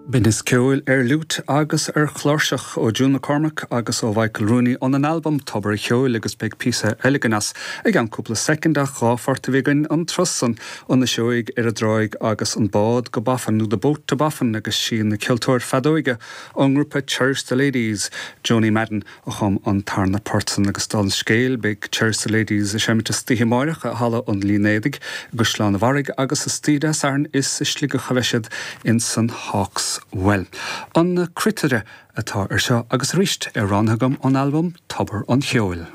Binneas ceoil ar fhliúit agus ar chláirseach ó June McCormack agus ó Mhichael Rooney óna n-albam Tobar a' Cheoil agus beidh píosa eile againn as i gceann cúpla soicind ach 2 phort a bhí againn an turas san, An Fhuiseoig ar an dTráigh agus An Bád go Boffin nó The Boat to Boffin agus sí an ceoltóir feadóige ón ngrúpa Cherish the Ladies, Joanie Madden, a chum an tarna port san agus dála an scéil beidh Cherish the Ladies ag seimint istoíche amáireach i Halla an Línéadaigh i gCaisleán a' Bharraigh agus istoíche Dé Sathairn is i Sligeach a bheidh siad ins an Hawks Well. An Cruitire atá ar seo agus arís é roghnaithe agam ón albam Tobar an Cheoil.